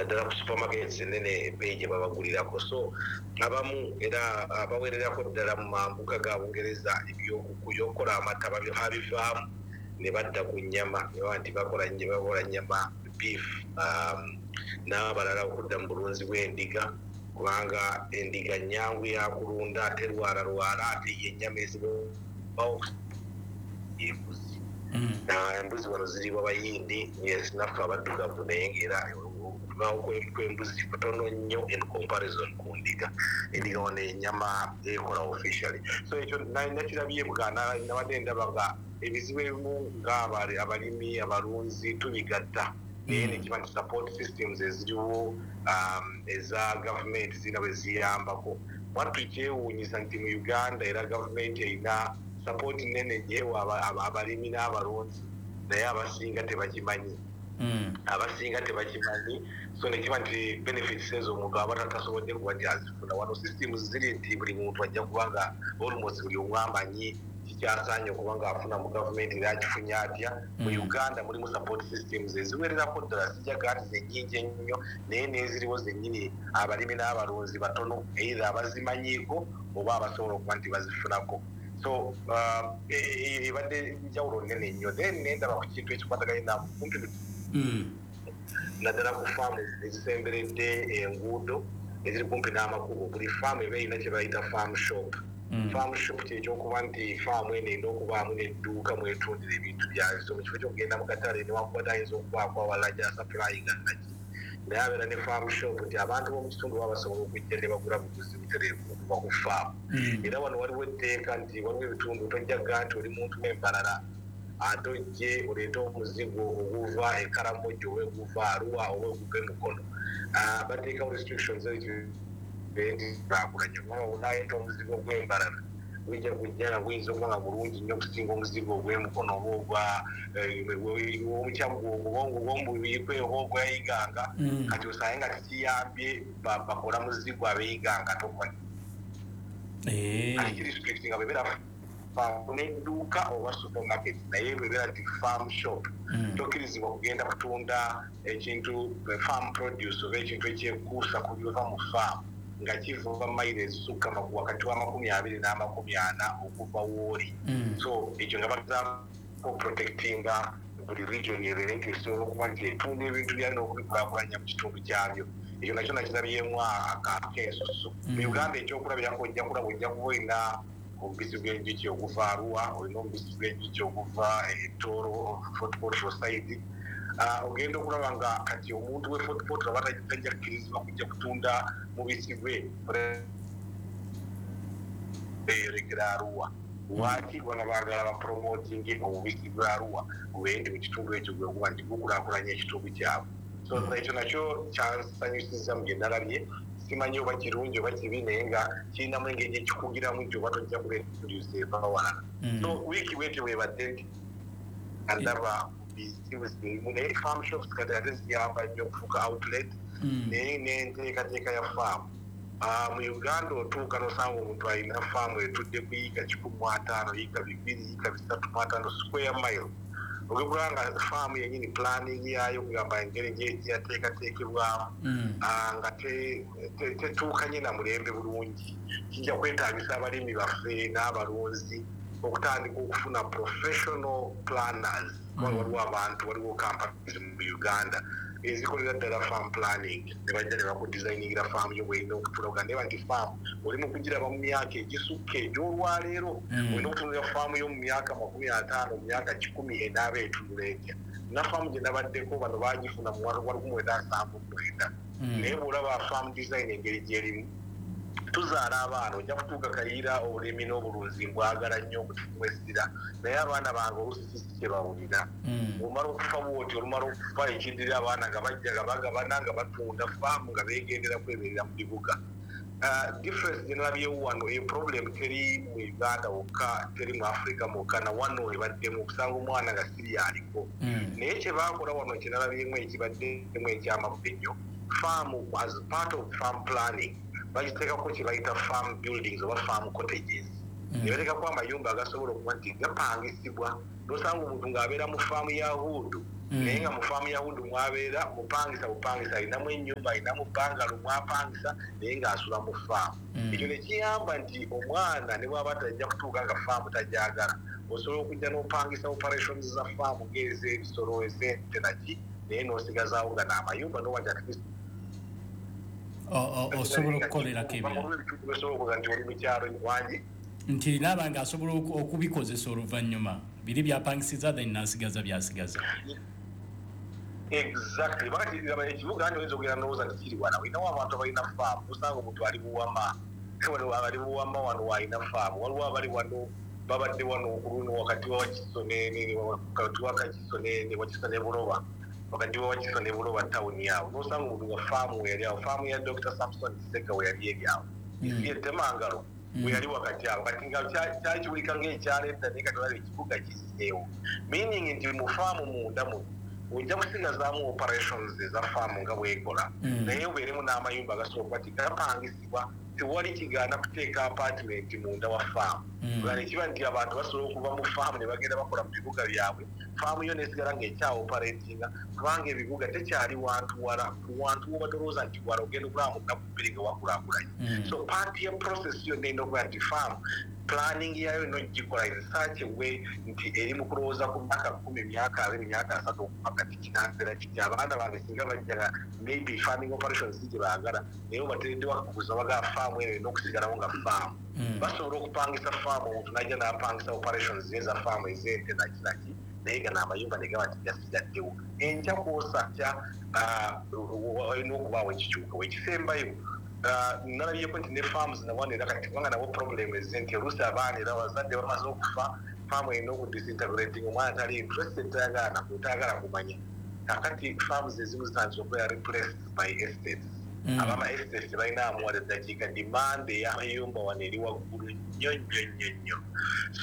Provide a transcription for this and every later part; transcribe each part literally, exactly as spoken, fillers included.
Naddala ku supermarkets enene, ebbeeyi gye babagulirako. So abamu era abawererako ddala mu mambuka ga Bungereza ebyokukola amata babivaamu ne badda ku nnyama, ne baba nti bakola bakola nnyama, beef, um, n'abalala okudda mu bulunzi bw'endiga, kubanga endiga nnyangu yakulunda, terwalalwala, ate ye ennyama ezibawo embuzi. Mm. Embuzi wano ziribwa Bayindi, yes, naffe abaddugavu, naye ngaera okubawo kw'embuzi kutono nnyo in comparison ku ndiga. Endiga wano ennyama ekola officially. So ekyo nakirabye bwa nabadde ndaba nga ebizibu ebimu nga abalimi, abalunzi tubigatta, naye nekiba nti support systems eziriwo um, eza gavumenti zirina bwe ziyambako. Mwattu kyewuunyisa nti mu Uganda era gavumenti erina support nene gyewa abalimi n'abalunzi, naye abasinga tebakimanyi. Mm. Abasinga tebakimanyi. So nekiba nti benefits ezo omuntu aba tasobodde kuba nti azifuna. Wano systems ziri nti buli muntu ajja kuba nga almost buli omu amanyi kikyasaanye okuba nga afuna mu gavumenti, era akifunye atya. Mu Mm. Uganda mulimu support systems eziwererako ddala, sijjaga nti zennyingi ennyo, naye n'eziriwo zennyini abalimi n'abalunzi batono either abazimanyiiko oba abasobola okuba nti bazifunako. So um, e- e- ebadde njawulo nnene nnyo. Then nendaba ku kintu ekikwataganye nakumpi Mm. naddala ku faamu ezisemberedde enguudo, eziri kumpi n'amakubo. Buli faamu eba erina kye bayita farm shop. Mm. Farm shop kyekyokuba nti faamu eno erina okubaamu n'edduuka mwetundira ebintu byayo. So mu kifo kyokugenda mu katale, newankubadde ayinza okubaako awalala gyasupplyinga naki, naye abeera ne farm shop nti abantu b'omu kitundu baba basobola okujja ne bagula buguzi butereevu okuva ku faamu. Mm. Era wano waliwo etteeka nti waliwo ebitundu tojjaga nti oli muntu w'embalala ate ojje oleete omuzigo oguva e Karamoja oba oguva Arua oba oguva emukono. Ah, bateekawo restrictions nti bakulanya kubanga onaleeta omuzigo gw'embalala gujja kujja nga guyinza okuba nga mulungi nnyo okusinga omuzigo ogw'emukono oba ogwa omukyaggwo ogwomubiyikweho ogwayiganga. Mm. Kati osange nga tekiyambye bakola muzigo ab'eyiganga ate okuba Eh. kati kirestricting nga bwebeera farm n'edduuka oba supermarket, naye bwebeera nti farm shop, Mm. tokkirizibwa kugenda kutunda ekintu farm produce oba ekintu ekyekuusa ku biva mu farm nga kiva mayiro ezisukka wakati wa makumi abiri n'amakumi ana okuva wooli. Mm. So ekyo nga bagezaako protectinga buli region ebeere nti esobola okuba nti etunda ebintu byayo n'okubikulaakulanya mu kitundu kyabyo. Ekyo nakyo nakirabyemu akensusu. Mu Mm. Uganda ekyokulabirako, ojja kulaba, ojja kuba olina omubisi gw'enjuki oguva Arua, olina omubisi gw'enjuki oguva Tooro, Fort Portal side. Ah, ogenda okulaba nga kati omuntu we Fort Portal aba tajja kukkirizibwa kujja kutunda mubisi gwe eyolekera Arua. Lwaki? Kubanga baagala bapromotinge omubisi gwa Arua gubeere nti mu kitundu ekyo gwe guba nti gukulaakulanya ekitundu kyabwe. So ekyo nakyo kyansanyusiza mu bye nalabye. Simanyi oba kirungi oba kibi, naye nga kirinamu engeri ekikugiramu nti oba tojja kuleeta eva walala. Mm. So wiiki bwetyo bwebadde nti andaba bizibu zirimu, naye farm shops kati ate ziyamba nnyo okufuuka outlet. Mm. Naye n'enteekateeka ya faamu. Ah, mu Uganda otuuka n'osanga omuntu alina faamu etudde ku yiika kikumi mu ataano, yiika bibiri, yiika bisatu mu ataano, square mile. Ogekula nga faamu yennyini planning yaayo, kugamba engeri gye yateekateekebwamu, Mm. ah, nga te- te- tetuukanye na mulembe bulungi. Kijja kwetaagisa abalimi baffe n'abalunzi okutandika okufuna professional planners, kubanga Mm. waliwo abantu, waliwo companies mu Uganda ezikolera ddala farm planning, ne bajja ne bakudesigningira faamu yo bwerina okutulaga, naye nti faamu oli mu kugiraba mu myaka egisukka egy'olwaleero. Mm. Olina okutunulira faamu yo mu myaka makumi ataano, mu myaka kikumi enaaba etunula etya. Na faamu gye nabaddeko bano bagifuna mu mwaka gwa lukumi mwenda nsanvu mu mwenda. Mm. Naye bw'olaba farm design engeri gyerimu, tuzaala abaana, ojja kutuuka Kayiira. Obulimi n'obulunzi mbwagala nnyo okutuwesira, naye abaana bange oluusi kisi kye bawulira. Mm. Omala okufa bwoti, olumala okufa, ekindirira abaana nga bajja nga bagabana, nga batunda faamu, nga begendera kweberera mu bibuga. Ah, difference gye nalabyewo wano, eyo problem teri mu Uganda wokka, teri mu Africa mwokka, na wano ebaddemu okusanga omwana nga siri aliko. Mm. Naye kye baakola wano kye nalabyemu ekibaddemu ekyamakulu ennyo, faamu as part of farm planning bagiteekako kye bayita farm buildings oba farm cottages, Mm. ne bateekako amayumba agasobola okuba nti gapangisibwa, nosanga omuntu ng'abeera mu faamu ya huudu. Mm. Naye nga mu faamu ya Hudu mwabeera mupangisa bupangisa, alinamu ennyumba, alinamu bungalow mwapangisa, naye ng'asula mu faamu. Mm. Ekyo ne kiyamba nti omwana ne bw'aba tajja kutuuka nga faamu tajagala, osobola okujja n'opangisa operations za faamu ng'ez'ebisolo, ez'ente naki, naye n'osigazaawo nga n'amayumba n'oba nti at least O- o- osobola okukolerako ebirala. Osobola okuga nti oli mu kyalo wangi. Nti naaba nga asobola oku- okubikozesa oluvannyuma biri byapangisiza, then n'asigaza byasigaza. Exactly. Bakati laba ekibuga nti oyinza okugenda ndowooza nti kiri wala, olinawo abantu abalina faamu, osanga omuntu ali Buwama, wano abali Buwama wano waalina faamu, waliwo abali wano babadde wano ku luno wakati wa Wakiso ne ne- wakati wa Kakiso ne ne Wakiso ne Buloba, wakati wa Wakiso ne Buloba tawuni awo, n'osanga omuntu nga faamu we yali awo, faamu ya Doctor Samson Kiseka we yali eri awo. Mm. Etemangalo we yali wakati awo. Kati nga kya- kyakiwulika ng'ekyalo edda, naye kati olaba ekibuga kiziseewo, meaning nti mu faamu munda muno ojja kusigazaamu operations eza faamu nga bwekola, Mm. naye obeeremu n'amayumba agasobola okuba ti gapangisibwa. Tewali kigaana kuteeka apartment munda wa faamu. Mm. Nga nekiba nti abantu basobola okuva mu faamu ne bagenda bakola mu bibuga byabwe, faamu yo nesigala ng'ekyaoperatinga, kubanga ebibuga tekyali wantu wala, wantu woba tolowooza nti wala, ogenda okulaba mu nnaku bbiri nga wakulaakulanye. Mm. So part ya process yonna erina okuba nti faamu planning yayo erina ogikola in such a way nti eri mu kulowooza ku myaka kumi, myaka abiri, myaka asatu okuva kati, kinabeera kiti abaana bange singa bajjaga maybe farming operations si gye baagala, naye obateereddewo akakuza bagaa faamu eno erina okusigalawo nga faamu. Mm. Basobola okupangisa faamu, omuntu najja n'apangisa operations eza faamu ez'ente naki naki, naye gano amayumba ne gaba nti gasigaddewo. Enkya kwosakya olina okubaawo ekikyuka ekisembayo. Ah, nalabyeko nti ne farms nawano era kati, kubanga nabo problem eze nti oluusi abaana era abazadde bamaze okufa, faamu erina okudisintegrating, omwana tali interested, tayagala naku, tayagala kumanya. Kakati farms ezimu zitandise okubeera replaced by estates. Mm. Abama estates tebalina amuwala eddakiika, demand ey'amayumba wano eri waggulu nnyo nnyo nnyo nnyo.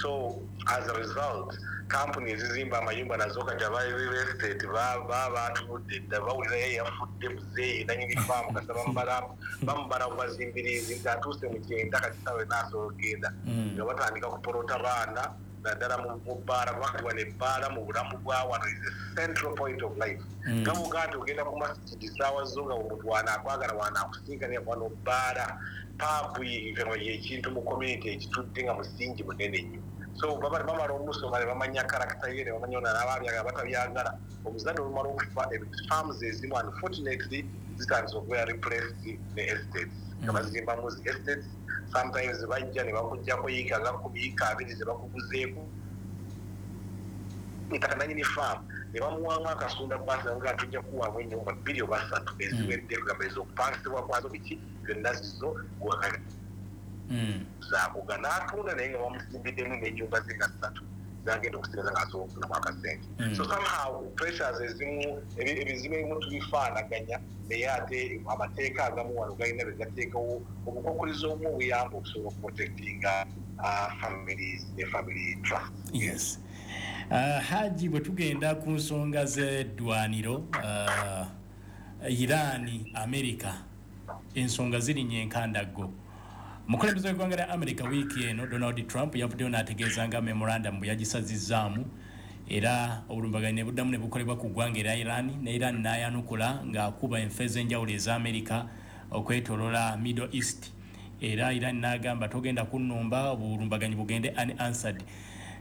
So as a result, kampuni ezizimba amayumba nazo kati aba real estate baba batunudde dda, bawulira ye yafudde muzeeyi nanyini faamu, kasa bamubala bamubala bubazimbirizi nti atuuse mu kyenda, kati sawe naasobola okugenda. Mm. Nga batandika kupolota baana naddala mu mu bbaala, kubanga wano ebbaala mu bulamu bwa wano is a central point of life. Mm. Nga bwogaa nti ogenda ku masjidi saawa zo nga omuntu wanaakwagala wanaakusinkana wano bbaala, pub yekintu mu community ekitudde nga musingi munene nnyo. So baba bamala omusoma ne bamanya character ye, ne bamanya ono anaaba batabyagala. Omuzadde olumala okufa, farms ezimu unfortunately zitandise okubeera replaced ne estates, nga Mm. bazimbamu zi estates. Sometimes bajja ne bakugjako yiika nga kumi, yiika abiri ze bakuguzeeko ettaka, nanyini faamu ne bamuwamu akasunda basi nga tujja kuwaamu ennyumba bbiri oba ssatu eziwedde, kugamba ez'okupangisibwa kwazo biki byonna zizo Mm. zakuga n'atunda, naye nga bamusimbiddemu n'ennyumba ze nga ssatu zagenda okusigala ng'asobola okufunamu akasente. Mm. So somehow pressures ezimu, ebi- ebizibu ebimu tubifaanaganya, naye ate amateeka agamu wano galina bye gateekawo obukokulizo obumu obuyamba okusobola okuprotectinga uh, families ne family trust. Yes. uh, haji bwe tugenda ku nsonga z'eddwaniro, uh, Iran, America, ensonga zirinnya enkandaggo. Omukulembeze w'eggwanga lya America wiiki eno Donald Trump yavuddeyo n'ategeeza nga memorandum bwe yagisazizzaamu, era obulumbaganyi ne buddamu ne bukolebwa ku ggwanga erya Iran, ne Iran n'ayanukula ng'akuba enfo ez'enjawulo eza America okwetolola Middle East. Era Iran n'agamba togenda kunnumba, obulumbaganyi bugende unanswered.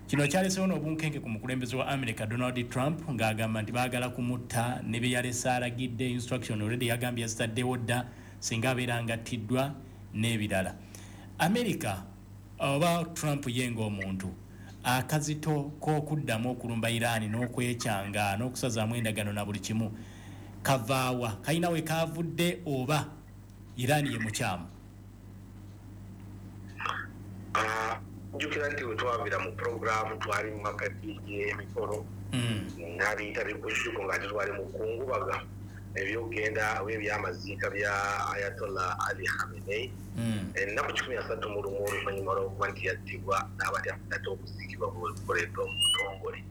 Kino kyalesewo n'obunkenke ku mukulembeze wa America Donald Trump, ng'agamba nti baagala kumutta ne bye yalese alagidde instruction already, yagambye yazitaddewo dda singa abeera nga attiddwa n'ebirala. America oba Trump ye ng'omuntu, akazito k'okuddamu okulumba Iran n'okwekyanga n'okusazaamu endagano na buli kimu kavaawa? Kalina we kavudde oba Iran ye mukyamu? Ah, njukira nti bwe twavira mu puroguramu twali mu makati g'emikolo Mm. n'abiyita bikujjuko nga ate twali mu kungubaga ebyokugenda oba ebyamaziika bya Ayatollah Ali Khamenei Mm. ennaku kikumi asatu mu lumu oluvannyuma lw'okuba nti yattibwa n'abatya ate okuziikibwa bukoleddwa mu butongole.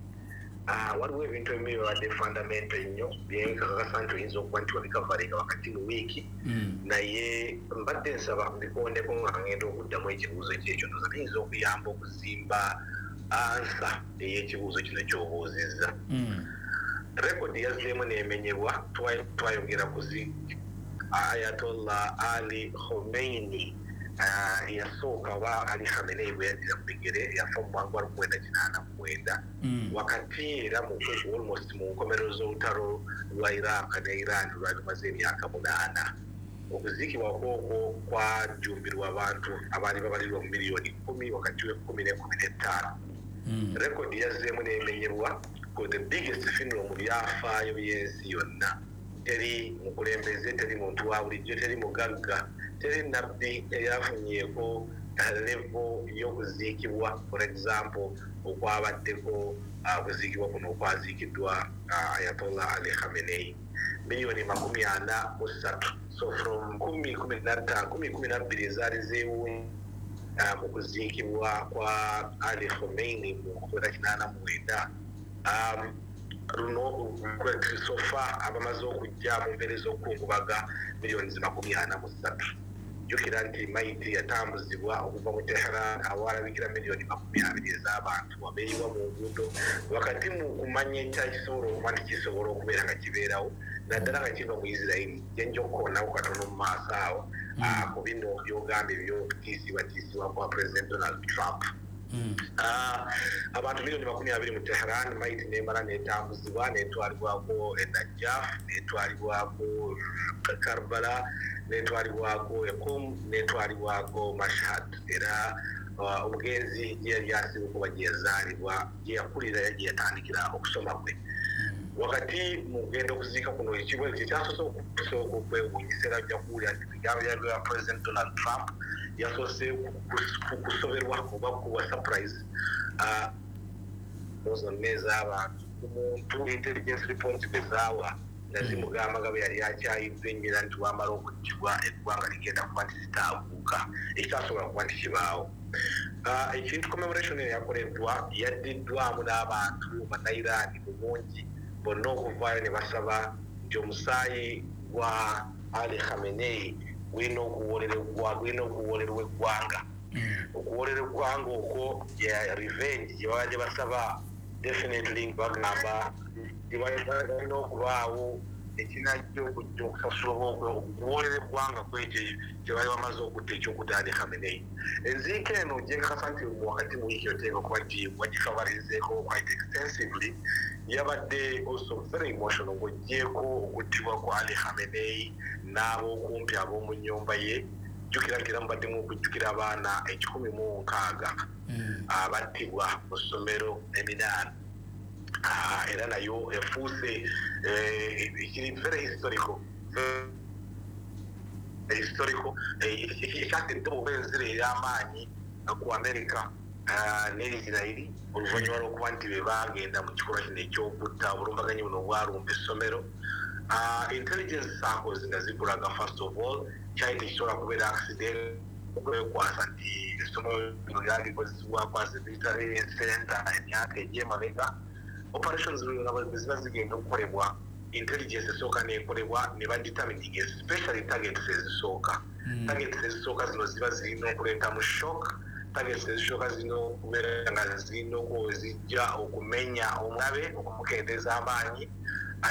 Ah, waliwo ebintu ebimu bibadde fundamental ennyo byenkakasa nti oyinza okuba nti wabikavalinga wakati mu wiiki, Mm. naye mbadde nsaba mbikondeko nga ngenda okuddamu ekibuuzo kyekyo, ndoza biyinza okuyamba okuzimba answer ey'ekibuuzo kino ky'obuuzizza. Mm. Rekodi yazzeemu n'emenyebwa. Twayogera ku Ayatollah Ali Khomeini eyasooka oba Ali Khamenei bwe yaddira mu bigere, yafa mu mwaka gwa lukumi mwenda kinaana mu mwenda, wakati era mu almost mu nkomerero z'olutalo lwa Iraq ne Iran lwali lumaze emyaka munaana. Okuziikibwa kwokwo kwajjumbirwa abantu abaali babalirwa mu miliyoni kkumi, wakati w'ekkumi n'ekkumi n'ettaano. Rekodi yazzeemu n'emenyebwa ku the biggest funeral mu byafaayo by'ensi yonna. Teri mukulembeze, teri muntu wa bulijjo, teri mugagga, teri nabbi eyafunyeeko level y'okuziikibwa, for example, okwabaddeko okuziikibwa kuno okwaziikiddwa Ayatollah Ali Khamenei, miliyoni makumi ana mu ssatu. So from kumi kumi na ttaano, kumi kumi na bbiri ezaali zeewuunya mu kuziikibwa kwa Ali Khomeini mu nkumi kinaana mu mwenda, luno so far abamaze okujja mu mbeera ez'okukungubaga miliyoni makumi ana mu ssatu. Jjukira nti mayiti yatambuzibwa okuva mu Tehran awalabikira miliyoni makumi abiri ez'abantu abeeyiwa mu nguudo, wakati mu kumanya ekyakisobola okuba nti kisobola okubeera nga kibeerawo, naddala nga kiva mu Isirairi. Gyenja okukoonako katono mu maaso awo ku bino by'ogambye eby'okutiisibwatiisibwa kwa President Donald Trump. Abantu miliyoni makumi abiri mu Tehran, mayiti n'emala n'etambuzibwa n'etwalibwako e Najaf, n'etwalibwako Karbala, n'etwalibwako e Qum, n'etwalibwako Mashhad. Era omugenzi gye yali asibuka, gye yazaalibwa, gye yakulira, gye yatandikira okusoma kwe. Wakati mu kugenda okuziika kuno, ekibuuzo ekyasoose okusooka okwewuunyisa, era ojja kuwulira nti ebigambo bya President Donald Trump yasoose kusoberwa oba kuwa surprise zonna ez'abantu ku muntu intelligence report bwe zaawa nga zimugamba nga bwe yali akyayidde ennyera nti wamala okuttibwa eggwanga ligenda kuba nti litaaguuka, ekitasobola kuba nti kibaawo. Ekintu commemoration eyo yakoleddwa, yaddiddwamu n'abantu Bannayiraani mu bungi bonna okuvaayo ne basaba nti omusaayi gwa Ali Khamenei gulina okuwolerwa, gulina okuwolerwa eggwanga. Okuwolera eggwanga okwo ya revenge gye babadde basaba. Definitely bagamba balina okubaawo ekinajja okujja okusasula oba okuwolera eggwanga ku ekyo kye bali bamaze okutta, ekyokutta Ali Khamenei. Enziika eno gyenkakasa nti wakati mu wiiki oteeka okuba nti wagikavalizeeko quite extensively, yabadde also very emotional. Ng'oggyeeko okuttibwa kwa Ali Khamenei n'ab'okumpi ab'omu nnyumba ye, jjukira nti era mubaddemu okujjukira abaana ekikumi mu nkaaga abattibwa mu ssomero eminaana, era nayo efuuse ekiri very historical, historical, ekyatedde oba enzira ey'amaanyi ku America ne Isirairi, oluvannyuma lw'okuba nti be baagenda mu kikolwa kino ekyokutta, obulumbaganyi buno obwalumba essomero. Intelligence circles nga zikulaga, first of all, kyali tekisobola kubeera accident, okwekwasa nti essomero lino lyalikozesebwako as a military center emyaka egy'emabega. Operations bwe ziba zigenda okukolebwa, intelligence esooka n'ekolebwa ne badetermining especially targets ezisooka. Targets ezisooka zino ziba zirina okuleetamu shock. Targets ezisooka zirina okubeera nga zirina zijja okumenya omulabe, okumukendeeza amaanyi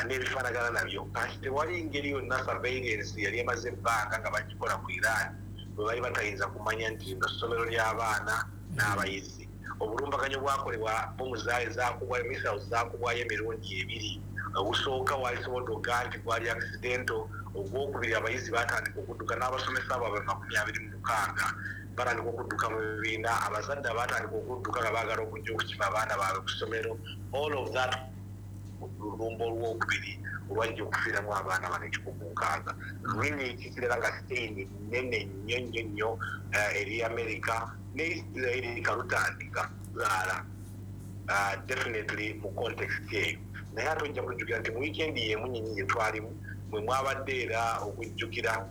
n'ebifaanagana nabyo. Kati tewali ngeri yonna surveillance yali emaze ebbanga nga bagikola ku Iran bwe bali batayinza kumanya nti lino ssomero ly'abaana n'abayizi. Obulumbaganyi bwakolebwa, bomu zaali zakubwayo, missiles zakubwayo emirundi ebiri. Ogusooka walisobodde okugaa nti gwali accidental. Ogwokubiri, abayizi batandika okudduka n'abasomesa baabwe makumi abiri mu mukaaga batandika okudduka mu bibiina, abazadde abatandika okudduka nga baagala okujja okukima abaana baabwe ku ssomero. All of that, olulumba olwokubiri olwajja okufiiramu abaana bano ekikumi mu nkaaga, really kikirera nga stain nnene nnyo nnyo nnyo eri America ne Israeli. Kalutandika zaala definitely mu context eyo. Naye ate ojja kujjukira nti mu weekend y'emu nyenyi gye twalimu mwe mwabadde era okujjukira,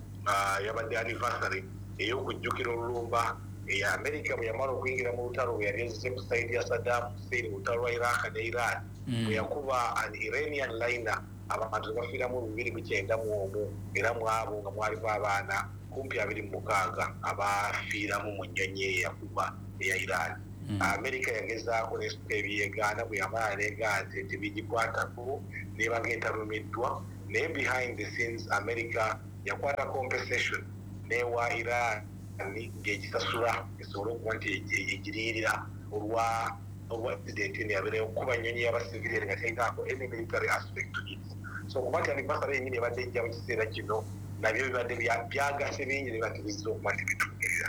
yabadde anniversary ey'okujjukira olulumba eya America bwe yamala okuyingira mu lutalo, bwe yali ezze ku side ya Saddam Hussein mu lutalo lwa Iraq ne Iran, bwe yakuba an Iranian liner, abantu ne bafiiramu bibiri mu kyenda mu omu, era mu abo nga mwalimu abaana kumpi abiri mu mukaaga abafiiramu mu nnyonyi eyo yakuba eya Iran. America yagezaako n'esituka ebyegaana, bwe yamala neegaana nti tebigikwatako, neba ng'etalumiddwa. Naye behind the scenes America yakwata compensation newa Iran ng'egisasula esobole okuba nti egiriyirira olwa olwa incident eno yabeereyo okukuba nnyonyi y'abasivilian nga terinaako any military aspect to it. So okuba nti anniversary yennyini ebadde ejja mu kiseera kino, nabyo bibadde byagase bingi ne batibizza okuba nti bituukirira.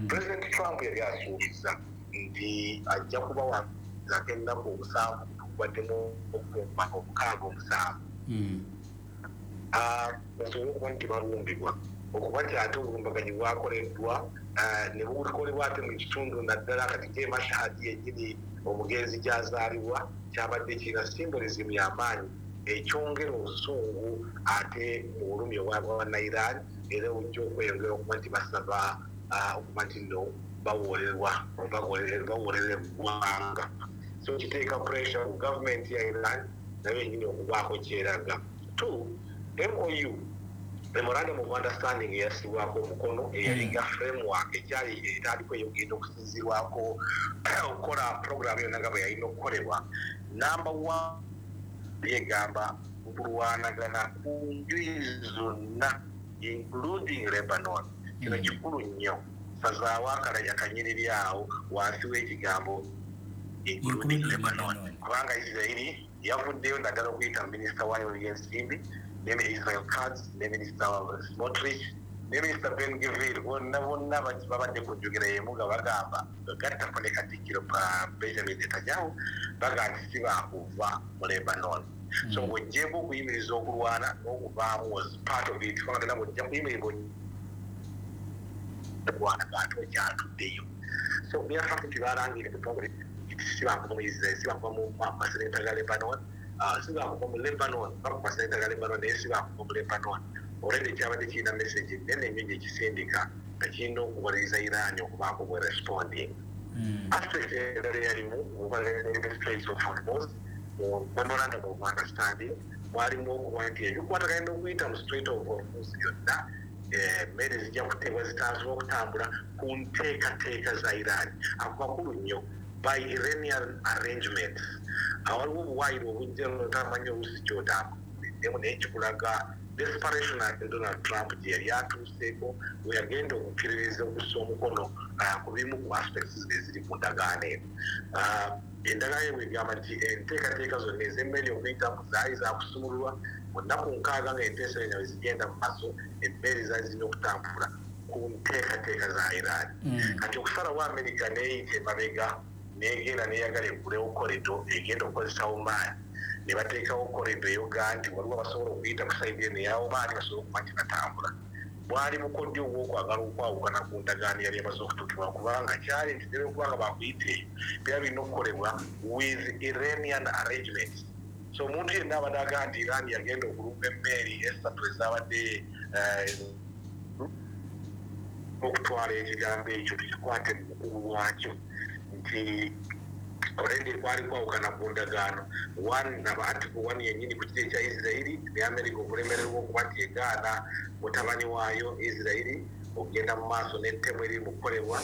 President Trump yali asuubiza nti ajja kubawa ennaku omusanvu, tubaddemu okukumba obukaaga omusanvu, basobole okuba nti balumbibwa, okuba nti ate obulumbaganyi bwakoleddwa ne bukolebwa ate mu kitundu naddala kati ke Mashhad yennyini omugenzi gy'azaalibwa, kyabadde kirina symbolism y'amaanyi ekyongera obusungu ate mu bulumi obwa Iran, era ojja okweyongera okuba nti basaba okuba nti nno bawolerwa, bawolerera eggwanga. So kiteeka pressure ku gavumenti ya Iran nayo yennyini okubaako kyeraga. Two, M O U, memorandum of understanding, eyassibwako omukono, eyalinga framework ekyali etandikwa eyogenda okusinzirwako okukola program yonna nga bwe yalina okukolebwa, number one yegamba okulwanagana ku njuyi zonna, including Lebanon. Kino kikulu nnyo, sazaawo akanyiriri awo wansi w'ekigambo "including Lebanon", kubanga Israeli yavuddeyo naddala okuyita minisita wayo w'ensimbi ne Israel Katz ne Minisita Smotrich ne Minisita Ben Gvir, bonna bonna babadde ku njogera y'emu nga bagamba, gattako ne Katikkiro Benjamin Netanyahu, bagamba nti si baakuva mu Lebanon. So ng'oggyeeko okuyimiriza okulwana, n'okuvaamu was part of it, kubanga tena bw'ojja kuyimirira okulwana ng'ate okyatuddeyo. So byafact nti balangire butongole si bakuva mu Israel, si bakuva mu maserengeta ga Lebanon, si bakuva mu Lebanon, baku maserengeta ga Lebanon, naye si bakuva mu Lebanon. Already kyabadde kirina message nene nnyo gyekisindika nga kirina okubaliriza Iran okubaako bwe responding. Aspect endala eyalimu Straits of Hormuz, mu memorandum of understanding mwalimu okuba nti ebikwatagana n'okuyita mu Strait of Hormuz byonna, emmere zijja kuteebwa zitasobola okutambula ku nteekateeka za Iran. Ako makulu nnyo, by Iranian arrangements. Awaliwo obuwaayiro obujja otamanyi oluusi kyotambuliddemu, naye kikulaga desperation ate Donald Trump gye yali atuuseeko we yagenda okukkiririza okussa omukono ku bimu ku aspects eziri ku ndagaano eno. Endagaano eno egamba nti enteekateeka zonna ez'emmere okuyitamu zaali zakusumululwa mu nnaku nkaaga nga enteeseganya bwe zigenda mu maaso, emmere zaali zirina okutambula ku nteekateeka za Iran. Kati okusalawo America neeyita emabega negenda neyagala eggulewo corridor egenda okukozesa Oman, ne bateekawo corridor eyoga nti waliwo abasobola okuyita ku side eno eya Oman basobole okuba nti batambula, bwali bukodyo obwokwagala okwawukana ku ndagaano yali emaze okutuukibwa, kubanga kyali nti nebe kubanga bakuyita eyo byaba birina okukolebwa with Iranian arrangements. So omuntu yenna abadde agamba nti Iran yagenda okulumba emmeeri esatu ezabadde, okutwala ekigambo ekyo tukikwate mu bukulu bwakyo nti already kwali kwawukana ku ndagaano one naba article one yennyini ku kiri ekya Isirairi ne America okulemererwa okuba nti egaana mutabani waayo Isirairi okugenda mu maaso n'ettemu eri mu kukolebwa.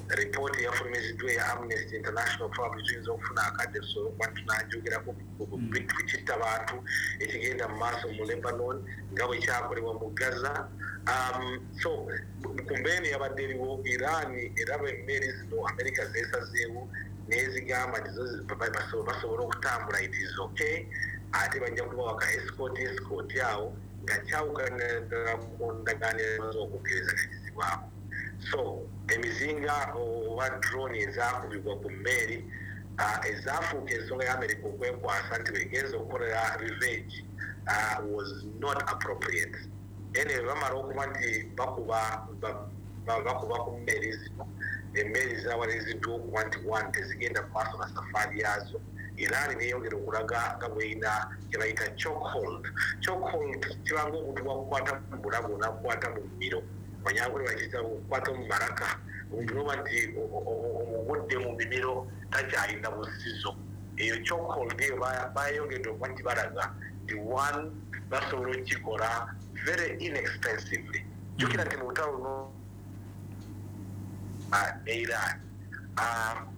Ripooti eyafulumiziddwa eya Amnesty International, probably tuyinza okufuna akadde tusobole okuba nti tunagyogerako ku kitta bantu ekigenda mu maaso mu Lebanon nga bwe kyakolebwa mu Gaza. um, so ku mbeera eyabadde eriwo, Iran eraba emmeeri zino America zeesazeewo nezigamba nti zo basobola okutambula, it is okay, ate bajja kubawa ka escort escort awo nga kyawukana ddala ku ndagaano emaze okukkirizaganyizibwako. So emizinga oba drone ezakubibwa ku mmeeri ezaafuuka ensonga ya America okwekwasa nti begenza okukolera revenge was not appropriate. Anyway, bamala okuba nti bakuba bakuba ku mmeeri zino, emmeri zawaliriziddwa okuba nti one, tezigenda mu maaso na safaari yaazo. Iran neyongera okulaga nga bweyina kyebayita chokehold. Chokehold kibanga omuntu bwakukwata mu bulago nakukwata mu mumiro, manyankole bakiyita okukwata mu maraka, omuntu noba nti omugudde mu mimiro takyalina busizo. Eyo chokehold eyo bayongedde okuba nti balaga nti one, basobola okukikola very inexpensively. Jjukira nti mu lutalo luno ne Iran,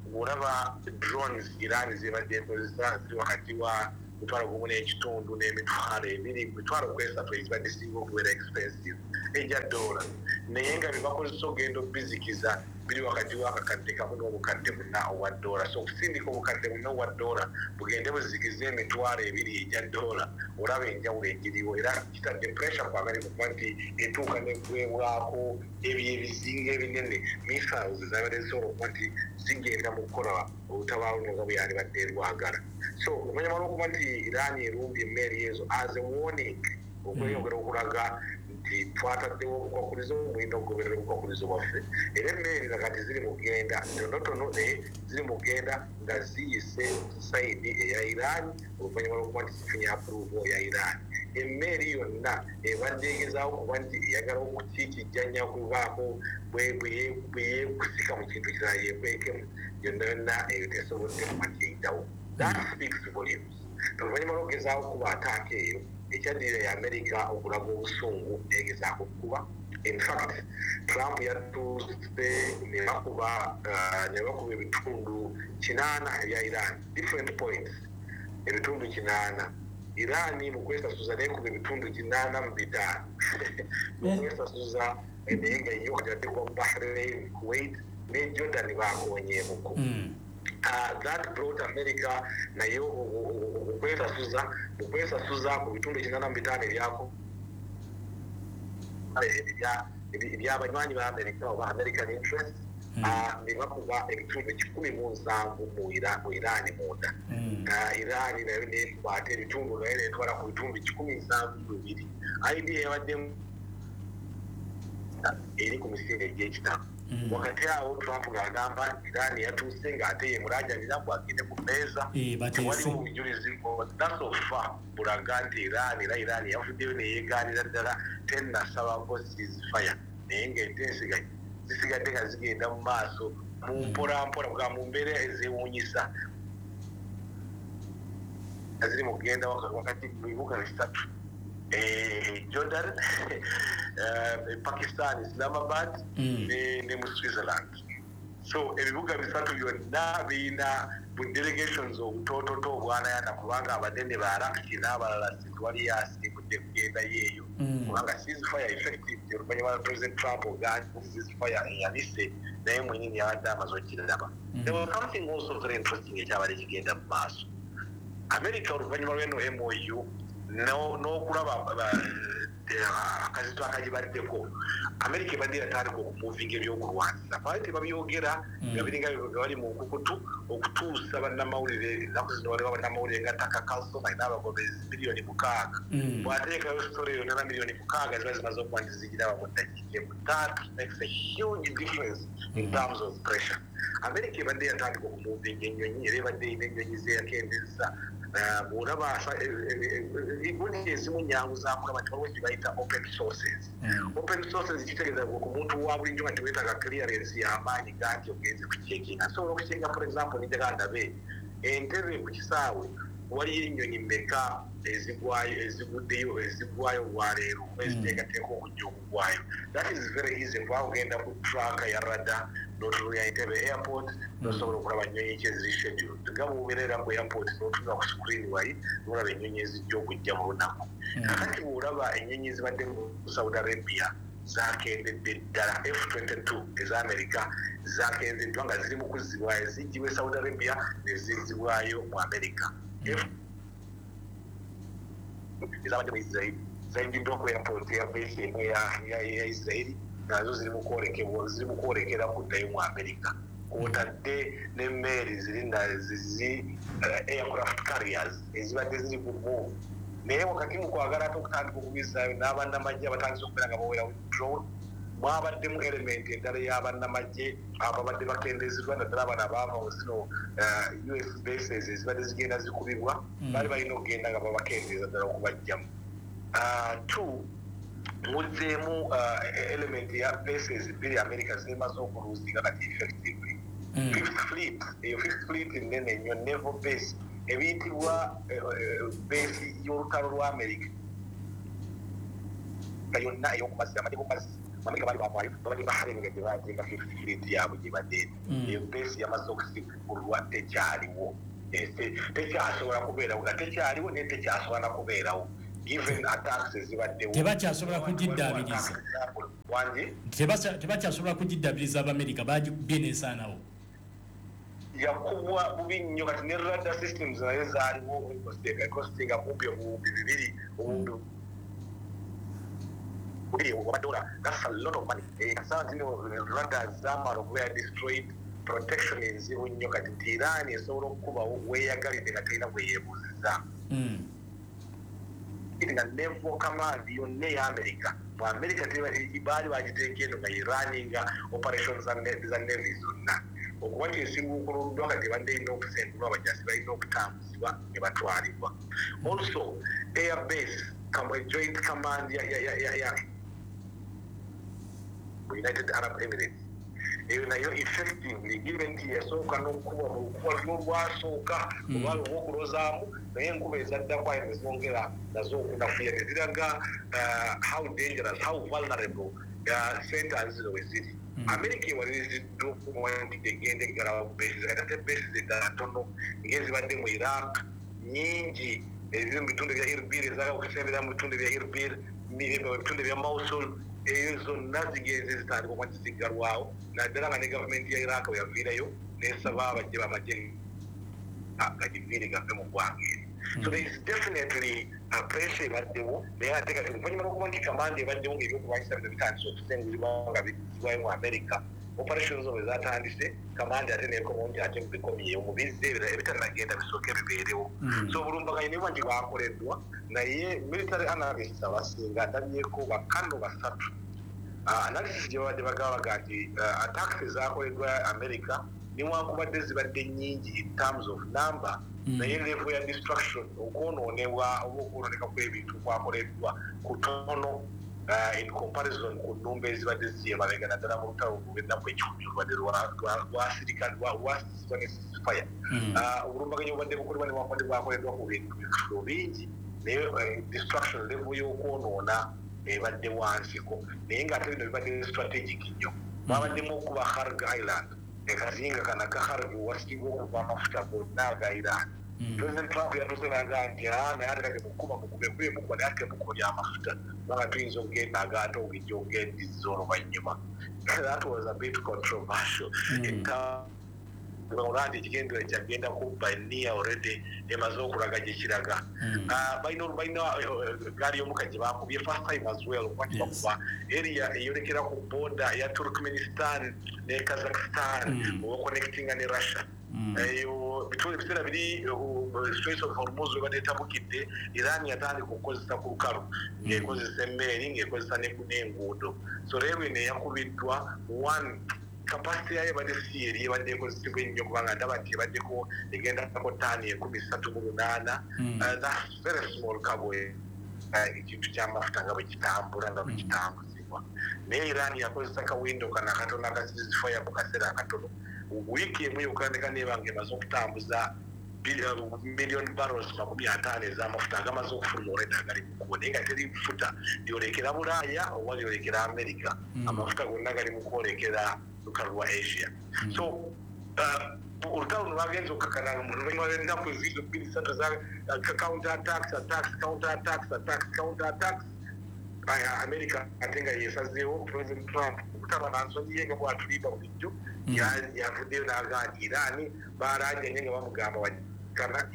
Bw'olaba drones Iran zebadde ekozesa, ziri wakati wa mutwalo gumu n'ekitundu n'emitwalo ebiri, mitwalo kwesatu ezibadde singa okubeera expensive ejja dola, naye nga bye bakozesa ogenda obizikiza biri wakati w'akakadde kamu n'obukadde buna obwa dola. So okusindika obukadde buna obwa dola bugende buzikize emitwalo ebiri egya dola, olaba enjawulo egiriwo. Era kitadde pressure ku America okuba nti etuuka neggwebwako ebyo ebizinga ebinene, missiles zabadde zisobola okuba nti zigenda mu kukola olutabaalo nga bwe yalibadde erwagala. So oluvannyuma lw'okuba nti Iran erumbye emmeeri ezo as a warning, okweyongera okulaga nti twataddewo obukwakulizo, mulina okugoberera obukwakulizo bwaffe. Era emmeeri nakati ziri mu kugenda tonotono, naye ziri mu kugenda nga ziyise side eya Iran oluvannyuma lw'okuba nti zifunye approval ya Iran. Emmeeri yonna ebadde egezaawo kuba nti eyagala okukiikijjanya okubaako bwe yeekusika mu kintu kirala yeekwekemu, yonna yonna eyo tesobodde kuba nti eyitawo. That speaks volumes. Oluvannyuma lw'okugezaawo kuba attack eyo, ekyaddirira ya America okulaga obusungu negezaako okukuba. In fact, Trump yatuuse ne bakuba ne bakuba ebitundu kinaana ebya Iran, different points, ebitundu kinaana. Iran mu kwesasuza nekuba ebitundu kinaana mu bitaano mu kwesasuza, naye nga yo kati atekwa mu Bahrain, Kuwait ne Jordan bakonyeemuko. Uh, that brought America nayo okwesasuza, okwesasuza ku bitundu kinaana mu bitaano ebyako ebyabanywanyi ba America oba American interest, ne bakuba ebitundu kikumi mu nsanvu mu Iran munda. Iran nayo nekuba ate ebitundu nayo netwala ku bitundu kikumi nsanvu mu bibiri. Idea yabaddemu eri ku misinde egy'ekitabo. Wakati awo Trump ng'agamba Iran yatuuse ng'ate ye mulajanira bw'agende ku mmeeza, tewaliwo bujulizi bwonna so far bulaga nti Iran, era Iran yavuddeyo neyeegaanira ddala, tennasabako ceasefire, naye ng'enteeseganya zisigadde nga zigenda mu maaso mu mpolampola bwa mu mbeera ezeewuunyisa nga ziri mu kugenda wakati mu bibuga bisatu: Jordan, Pakistan Islamabad, ne, ne mu Switzerland. So ebibuga bisatu byonna birina bu delegations obutoototo obwanayana, kubanga abanene ba Arakchi n'abalala tewali yasimbudde kugenda yeeyo, kubanga ceasefire effective oluvannyuma lwa President Trump ogambye ceasefire eyabise, naye mwenyini yabadde amaze okiraba. There was something also very interesting ekyabadde kigenda mu maaso. America oluvannyuma lw'eno M O U n'okulaba akazito akagibaddeko, America ebadde yatandika okumuvinga ebyokulwanyisa, baali tebabyogera nga biringa nga bali mu nkukutu okutuusa bannamawulire. Ennaku zino waliwo bannamawulire nga Tucker Carlson alina abagoberezi miliyoni mukaaga, bw'ateekayo story yonna na miliyoni mukaaga ziba zimaze okuba nti zigiraba mu ddakiika emu. That makes a huge difference in terms of pressure. America ebadde yatandika okumuvinga ennyonyi, era ebadde erina ennyonyi zeyakendezza. Bw'olaba gundi ezimu nyangu zakulaba nti waliwo kye bayita open sources. Open sources kitegeeza ku muntu wa bulijjo nga teweetaaga clearance y'amaanyi ganti ogenze kucekinga. Nsobola okucekinga, for example, ninjagala ndabe Entebbe ku kisaawe waliyo ennyonyi mmeka ezigwayo, eziguddeyo, ezigwayo olwaleero oba eziteekateeka okujja okugwayo. That is very easy kuba ogenda ku track ya radar n'otunula Entebbe airport n'osobola okulaba nnyonyi ki eziri scheduled. Nga bw'obeera ku airport n'otunula ku screen wali n'olaba ennyonyi ezijja okujja mu lunaku. Kakati bw'olaba ennyonyi ezibadde mu Saudi Arabia zakendedde ddala, F twenty-two eza America zakendeddwa nga ziri mu kuzzibwayo, zijjibwa e Saudi Arabia ne zizzibwayo mu America. F ezabadde mu Israel zayingiddwa ku airport ya base emu ya Israel, nazo ziri mu kwolekebwa, ziri mu kwolekera kuddayo mu America. Kwotadde n'emmeeri ziri zi aircraft carriers ezibadde ziri ku move, naye wakati mu kwagala ate okutandika okubizaayo n'abannamagye abatandise okubeera nga bawera withdrawn, mwabaddemu element endala y'abannamagye ababadde bakendezeddwa, naddala bano abaava mu zino U S bases ezibadde zigenda zikubibwa, baali balina okugenda nga babakendeeza ddala okubajjamu. Two, muzzeemu element ya bases bbiri America zemaze okuluuzinga kati effectively. Fifth Fleet, eyo Fifth Fleet nnene nnyo, naval base ebiyitibwa base y'olutalo lwa America. Yonna ey'okumazzi, amagye g'okumazzi Amerika bali bavaayo, babadde Bahrain nga gye bateeka fleet yaabwe gye badde. Eyo base yamaze okusigulwa, tekyaliwo, tekyasobola kubeerawo, nga tekyaliwo naye tekyasobola na kubeerawo given attacks ezibaddewo. Tebakyasobola kugiddaabiriza. Wangi? Tebakyasobola kugiddaabiriza, Abamerika bagikubye n'esaanawo. Yakubwa bubi nnyo. Kati ne radar systems nayo zaaliwo, costinga kumpi obuwumbi bibiri, obuwumbi bubiri obwa dola. That's a lot of money. Kasanga zino radar zamala okubeera destroyed, protection enzibu nnyo. Kati nti Iran esobola okukubawo weeyagalidde nga terina bwe yeebuuziza nga naval command yonna eya America mu America baali bagiteeka eno nga iraninga operation za navy zonna. Okuba nti esinguukuluddwa, kati ebadde erina okusengulwa, abajasi balina okutambuzibwa ne batwalibwa. Also air base, joint command ya, ya, ya, ya United Arab Emirates, eyo nayo effectively, given nti yasooka n'okukuba mu lukuba luli olwasooka olwali olw'okulozaamu, naye enkuba ezaddako ayo nezongera nazo okunafuya, neziraga how dangerous, how vulnerable centers zino we ziri. America ewaliriziddwa okuba nti egenda eggalawo bases. Kati ate bases eddala ntono ng'ezibadde mu Iraq nyingi, eziri mu bitundu bya Irbil, ezaagala okusembera mu bitundu bya Irbil, mu bitundu bya Mosul, eyo zonna zigenze zitandika okuba nti ziggalwawo, naddala nga ne gavumenti ya Iraq bwe yaviirayo nesaba abajje bamagye gagiviire gave mu ggwanga eri. So there is definitely a pressure ebaddewo. Naye ate kati oluvannyuma lw'okuba nti command ebaddewo ng'ebyokulwanyisa bino bitandise okusengulibwa nga bizibwayo mu America, operations zo bwe zatandise, command ate nekomawo nti ate mubikomyewo, mubizze, ebirala ebitanagenda bisooke bibeerewo. So obulumbaganyi nebuba nti bwakoleddwa, naye military analysts abasinga ndabyeko bakano basatu, analysis gye babadde bagaba baga nti attacks ezakoleddwa America newankubadde zibadde nnyingi in terms of number, naye level ya destruction, okwonoonebwa oba okwonooneka kw'ebintu kwakoleddwa kutono in comparison ku nnumba ezibadde ziri emabega, naddala mu lutalo lw'ennaku ekikumi olubadde lwasirika, lwasisibwa ne ceasefire. Obulumbaganyi obubadde bukolebwa newankubadde bwakoleddwa ku bintu bifo bingi, naye destruction level y'okwonoona ebadde wansiko. Naye ng'ate bino bibadde strategic nnyo. Babaddemu okuba Kharg Island, ekazinga kana ka Kharg wasinga okuva amafuta gonna aga Iran. President Trump yatuuse naga nti naye ate kati mukuba mukube kube mukuba, naye ate mukuba lyamafuta, kubanga tuyinza okugenda agaate ogijja okugendiza oluvannyuma. That was a bit controversial olwa nti ekigendera kyagenda kubba eniya already emaze okulaga gye kiraga. Balina balina gaali y'omukka gye bakubye first time as well, okuba nti bakuba area eyolekera ku border ya Turkmenistan ne Kazakhstan oba connectinga ne Russia. Eyo bitundu ebiseera biri Strait of Hormuz webadde etabukidde, Iran yatandika okukozesa ku lukalu ng'ekozesa emmeeri, ng'ekozesa n'enguudo. So leero eno eyakubiddwa, one capacity yayo ebadde si eri ebadde ekozesebwa ennyo, kubanga ndaba nti ebaddeko egendako taani enkumi ssatu mu lunaana. That's very small cargo. Ekintu ky'amafuta nga bwe kitambula, nga bwe kitambuzibwa, naye Iran yakozesa kawindo kano akatono aka ceasefire mu kaseera akatono, wiiki emu yokka ndeka neeba nga emaze okutambuza million barrels makumi ataano ez'amafuta agamaze okufuluma olwedda agali mu kkubo, naye nga teri futa lyolekera Bulaaya oba lyolekera America. Amafuta gonna gali mu kwolekera lukalu lwa Asia. So olutalo luno lwagenza okukakana oluvannyuma lw'ennaku ezizo bbiri ssatu za counter attacks, attacks, counter attacks, attacks, counter attacks. America ate nga yesazeewo, President Trump okutaba na nsonyi ye nga bwatulimba bulijjo, yavuddeyo n'agaa nti Iran balanjanye nga bamugamba wakana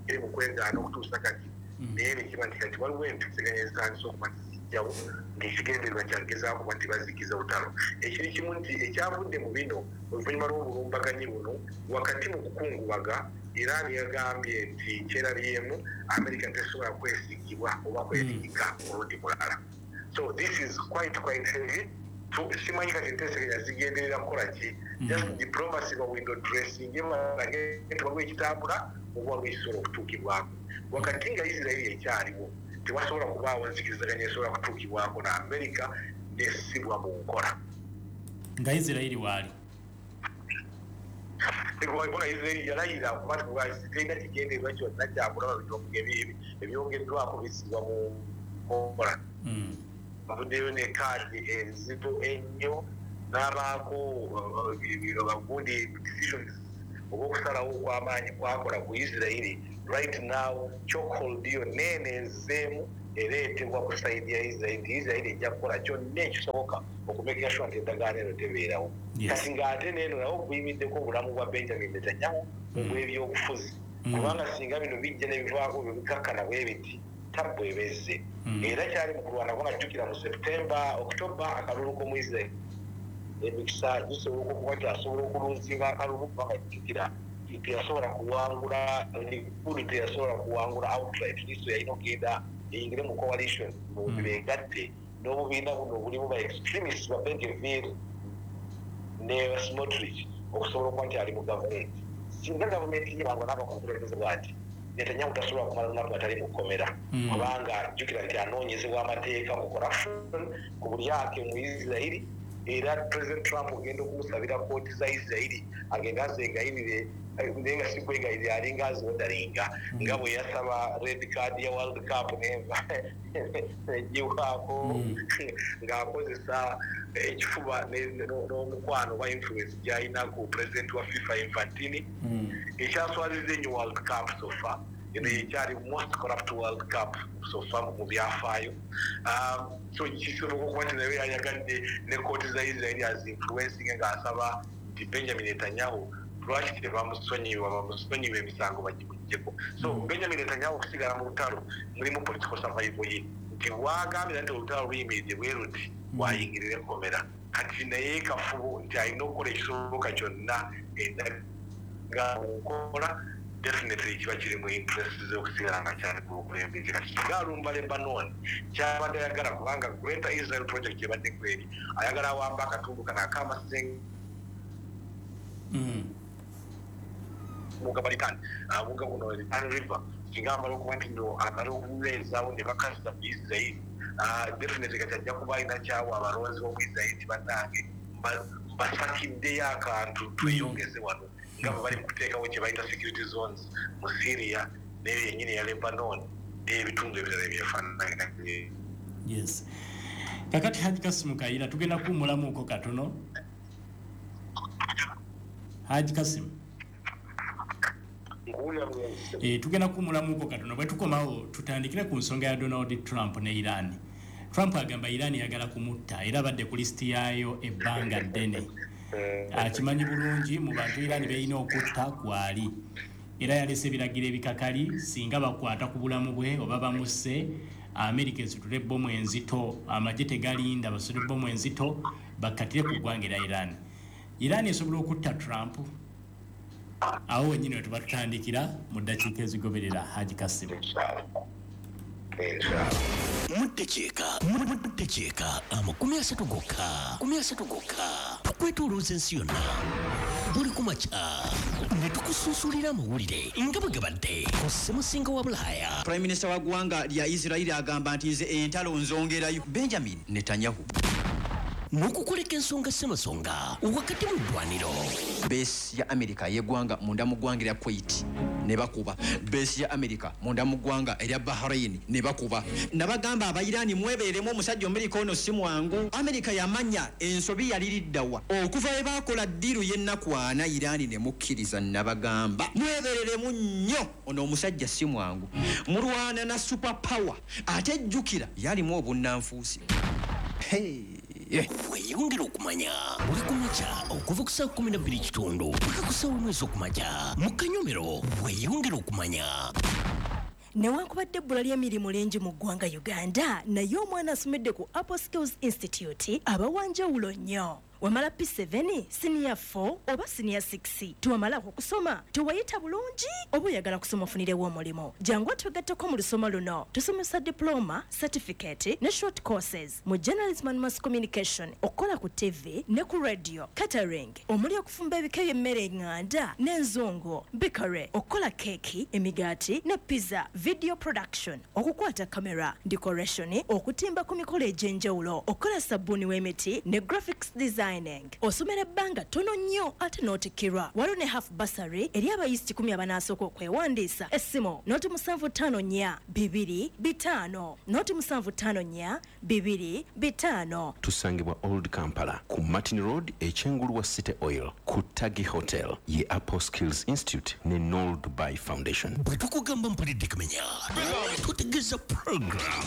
eri mu kwegaana okutuusa kati. Naye nekiba nti kati waliwo enteeseganya ezitandise okuba nti zijjawo ng'ekigendererwa kyagezaako kuba nti bazikiza olutalo. Ekiri kimu nti ekyavudde mu bino, oluvannyuma lw'obulumbaganyi buno, wakati mu kukungubaga, Iran yagambye nti kyerabyemu America tesobola kwesigibwa oba kwesigika mulundi mulala. So this is quite quite heavy. Simanyi kati enteeseganya zigenderera kukola ki, just diplomacy ba window dressing balage nti waliwo ekitambula oba waliwo ekisobola okutuukibwako. Wakati nga Isirairi ekyaliwo, tewasobola kubaawo nzikirizaganya esobola kutuukibwako na America nesibwa mu nkola. Nga Isirairi waali. Kubanga Isirairi yalayira kuba terina kigendererwa kyonna kyakulaba ebyogeddwako bisibwa mu nkola. Avuddeyo ne kaadi enzito ennyo n'abaako bagundi decisions oba okusalawo okw'amaanyi kwakola ku Isirairi. Right now chokehold yo nene ezeemu ereetebwa ku side ya Isirairi nti Isirairi ejja kukola kyonna ekisoboka okumakinga sure nti endagaano eno tebeerawo. Kati ng'ate neeno nawo guyimiddeko obulamu bwa Benjamin Netanyahu obw'ebyobufuzi, kubanga singa bino bijja ne bivaako bikakkana bwe biti tabbu ebezze. Era kyali mu kulwana kubanga jjukira mu September, October akalulu k'omu Isirairi emikisa gisobola okuba nti asobola okuluzinga akalulu, kubanga jjukira teyasobola kuwangula Likud, teyasobola kuwangula outright. Liso yalina okugenda eyingire mu coalition begatte n'obubiina buno obulimu ba extremists ba Ben-Gvir ne Smotrich okusobola okuba nti ali mu gavumenti. Singa gavumenti ye bangwa n'abakukulembeze bw'ati, Netanyahu tasobola kumala lunaku atali mu kkomera, kubanga jjukira nti anoonyezebwa amateeka ku corruption, ku bulyake mu Isirairi. Era President Trump ogenda okumusabira kooti za Isirairi agenda azegayirire, naye nga si kwegayirira, alinga aziwodalinga nga bwe yasaba red card ya World Cup negiwaako ng'akozesa ekifuba n'omukwano oba influence gy'alina ku president wa FIFA Infantino. Ekyaswaliza ennyo World Cup so far, eno yekyali most corrupt World Cup so far mu byafaayo. So kisoboka okuba nti naye yayagadde ne kooti za Isirairi azinfluencing ng'asaba nti Benjamin Netanyahu lwaki tebamusonyiwa, bamusonyiwa emisango bagimuggyeko. So Benjamin Netanyahu okusigala mu lutalo mulimu political survival ye, nti wagambira nti olutalo luyimiridde bwe luti wayingirira ekkomera. Kati naye kafubo nti alina okukola ekisoboka kyonna endagaano nkola definitely kiba kiri mu interest z'okusigala nga kyali ku bukulembeze. Kati singa alumba Lebanon kyabadde ayagala, kubanga Greater Israel Project gyebadde kweri, ayagala awamba akatundu kano ak'amasenga muga Litani, muga guno Litani River, singa amala okuba nti no amala okubeezaawo ne bakaza mu Israel, definitely kati ajja kuba alina kyawa abalonzi b'omu Israel nti bannange mbasakiddeyo akantu tweyongeze wano, nga bwe bali mu kuteekawo kye bayita security zones mu Syria n'eyo yennyini ya Lebanon n'ebitundu ebirala ebyefaanana. Yes, kakati Haji Kasimu Kayira, tugenda kuwummulamuko katono. Haji Kasimu, e, tugenda kuwummulamuko katono. Bwe tukomawo tutandikire ku nsonga ya Donald Trump ne Iran. Trump agamba Iran yagala kumutta, era abadde ku lisiti yaayo ebbanga ddene. Akimanyi bulungi mu bantu Iran beyina okutta kwali, era yalese ebiragiro ebikakali singa bakwata ku bulamu bwe oba bamusse, Amerika esitule ebbomu enzito, amagye tegalinda, basitule ebbomu enzito bakkatire ku ggwanga era Iran. Iran esobola okutta Trump? Awo wennyini we tuba tutandikira mu ddakiika ezigoberera. Haji Kasimu. Muddakiika muddakiika amakumi asatu gokka, makumi asatu gokka, tukwetoolooza ensi yonna buli ku makya ne tukusunsulira amawulire nga bwe gabadde ku ssemusinga wa Bulaaya. Prime Minister wa ggwanga lya Isirairi agamba nti nze entalo nzongerayo. Benjamin Netanyahu n'okukoleka ensonga ssemasonga wakati mu ddwaniro. Base ya Amerika y'eggwanga munda mu ggwanga erya Kuwait ne bakuba base ya Amerika munda mu ggwanga erya Bahrain ne bakuba. Nabagamba Abairani mwebeeremu, omusajja Amerika ono si mwangu. Amerika yamanya ensobi yaliriddawa okuva we baakola deal y'ennaku ana Irani ne mukkiriza. Nabagamba mwebereremu nnyo, ono omusajja si mwangu, mulwana na super power, ate jjukira yalimu obunnanfuusi. Hey. Weeyongera okumanya buli ku makya okuva ku ssaawa kumi na bbiri kitundu paka ku ssaawa emu ez'okumakya mu kanyomero. Weeyongera okumanya. Newankubadde ebbula ly'emirimu lingi mu ggwanga Uganda, naye omwana asomedde ku Apple Skills Institute aba wanjawulo nnyo. Wamala P seven, siniya four oba siniya six, tewamalako okusoma, tewayita bulungi, oba oyagala kusoma ofunirewo omulimu, jangu otwegatteko mu lusoma luno. Tusomesa diploma, certificate ne short courses mu journalism and mass communication, okukola ku T V ne ku radio, catering omuli okufumba ebika by'emmere eŋŋanda n'enzungu, bakery, okukola keeki, emigaati ne pizza, video production, okukwata kamera, decoration, okutimba ku mikolo egy'enjawulo, okukola sabbuuni w'emiti ne graphics design. designing. Osomera ebbanga ttono nnyo ate n'otikkirwa. Waliwo ne half bursary eri abayizi kikumi abanaasooka okwewandiisa. Essimu noti musanvu ttaano nnya bibiri bitaano noti musanvu ttaano nnya bibiri bitaano. Tusangibwa Old Kampala ku Martin Road ekyengulu wa City Oil ku Tagi Hotel ye Apple Skills Institute ne Nol Dubai Foundation. Bwe tukugamba mpulidde kamenya, tutegeeza program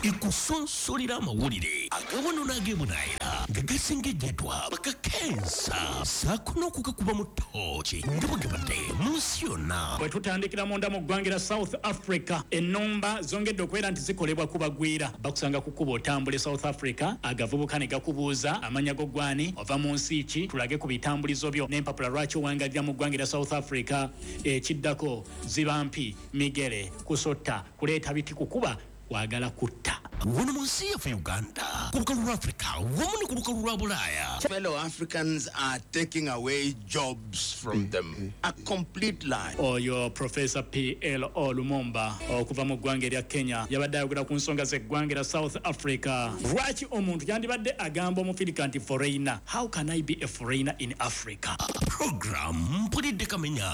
ikusonsolera amawulire agawano n'agebunaayira nga gasengejjeddwa bakakensa saako n'okugakuba mu ttooki nga bwe gabadde mu nsi yonna. Bwe tutandikira munda mu ggwanga lya South Africa, ennumba zongedde okubeera nti zikolebwa ku bagwira. Bakusanga ku kkubo otambula e South Africa, agavubuka ne gakubuuza amannya go gwani, ova mu nsi ki, tulage ku bitambulizo byo n'empapula lwaki owangalira mu ggwanga lya South Africa. Ekiddako ziba mpi, migere, kusotta, kuleeta biti, kukuba, kwagala kutta. Wano mu nsi yaffe Uganda, ku lukalu lwa Africa wamu ne ku lukalu lwa Bulaaya. Fellow Africans are taking away jobs from them. A complete lie. Oyo Professor P L O Lumumba okuva mu ggwanga erya Kenya yabadde ayogera ku nsonga z'eggwanga erya South Africa. Lwaki omuntu yandibadde agamba omufirika nti foreigner? How can I be a foreigner in Africa? Program mpulidde kamenya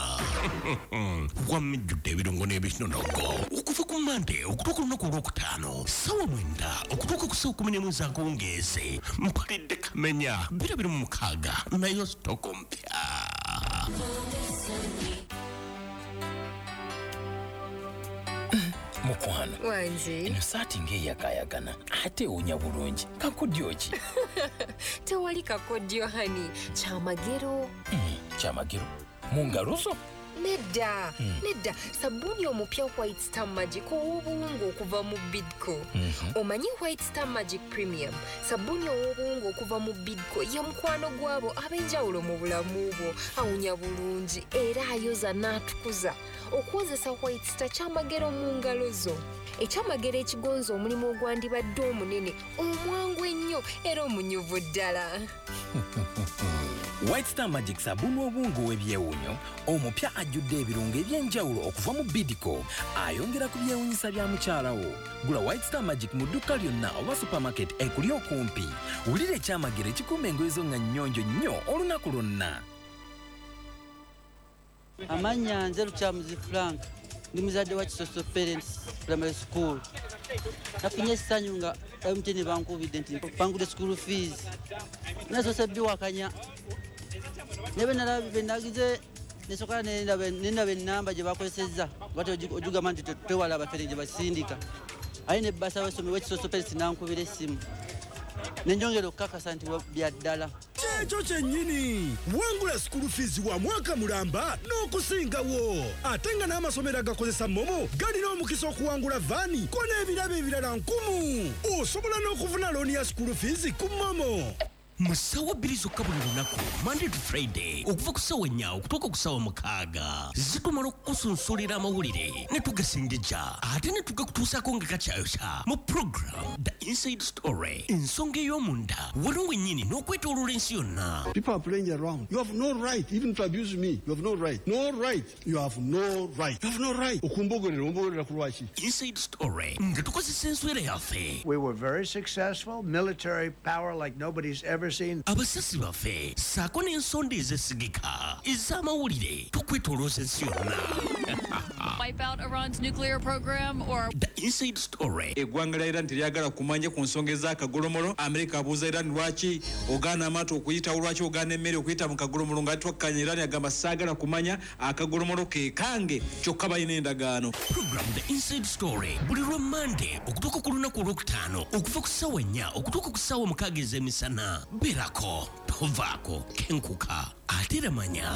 wamijjudde ebirungo n'ebinonogo okuva ku Mande okutuuka olunaku olwokutaano ssaawa mwenda okutuuka ku ssaawa kumi n'emu ez'akawungeezi. Mpulidde kamenya biro biri mu mukaaga nayo sitoko mpya. Mukwano wange, eno saati ng'eyakaayakana ate ewunya bulungi. Kakodyo ki? Tewali kakodyo hani, kyamagero. Mm, kyamagero mu ngalo zo? Nedda, Mm. nedda, sabbuuni omupya White Star Magic ow'obuwunga okuva mu Bidco. Mhm. Omanyi White Star Magic Premium, sabbuuni ow'obuwunga okuva mu Bidco ye mukwano gwabo ab'enjawulo mu bulamu bwo. Awunya bulungi era ayoza n'atukuza. Okwozesa White Star kyamagero mu ngalo zo. Ekyamagero ekigonza omulimu ogwandibadde omunene, omwangu ennyo era omunyuvu ddala. White Star Magic sabbuuni w'obuwunga ow'ebyewuunyo omupya ajjudde ebirungo eby'enjawulo okuva mu Bidco, ayongera ku byewuunyisa bya mukyala wo. Gula White Star Magic mu dduuka lyonna oba supermarket ekuli okumpi. Wulira ekyamagero ekikuuma engoye zo nga nnyonjo nnyo olunaku lwonna. Amannya nze Lukyamuzi Frank, ndi muzadde wa Kisoso Parents Primary School. Nafunye essanyu nga M T N bankubidde nti bangudde school fees. Nasoose biwakanya. Naye bwe nalabye bwe nagize nesooka nendaba nendaba ennamba gye bakozesezza bati ogigamba nti tewala abafere gye basindika. Aye ne bbasa w'essomero w'Ekisoso Parents n'ankubira essimu. Ne njongera okukakasa nti bya ddala. Kyekyo kyennyini, wangula school fees wa mwaka mulamba n'okusingawo. Ate nga n'amasomero agakozesa MoMo galina omukisa okuwangula vaani ko n'ebirabo ebirala nkumu. Osobola n'okufuna looni ya school fees ku MoMo. Mu ssaawa bbiri zokka buli lunaku, Monday to Friday, okuva ku ssaawa nnya okutuuka ku ssaawa mukaaga, zitumala okukusunsulira amawulire ne tugasingija ate ne tugakutuusaako nga kakyayokya mu program The Inside Story, ensonga ey'omunda wano wennyini n'okwetooloola ensi yonna. People are playing around. You have no right even to abuse me. You have no right. No right. You have no right. You have no right. Okumbogerera, ombogerera ku lwaki? Inside Story nga tukozesa enswera yaffe. We were very successful, military power like nobody's ever seen. Abasasi baffe ssaako n'ensonda ezesigika ez'amawulire tukwetoolooza ensi yonna. Wipe out Iran's nuclear program or The Inside Story. Eggwanga lya Iran teryagala kumanya ku nsonga ez'akagolomolo. Amerika abuuza Iran lwaki ogaana amaato okuyitawo, lwaki ogaana emmere okuyita mu kagolomolo, nga twakkanya. Iran agamba saagala kumanya, akagolomolo ke kange, kyokka balina endagaano. Program The Inside Story buli lwa Monday okutuuka ku lunaku olwokutaano okuva ku ssaawa nnya okutuuka ku ssaawa mukaaga ez'emisana. Beerako, tovaako, kenkuka ate era manya.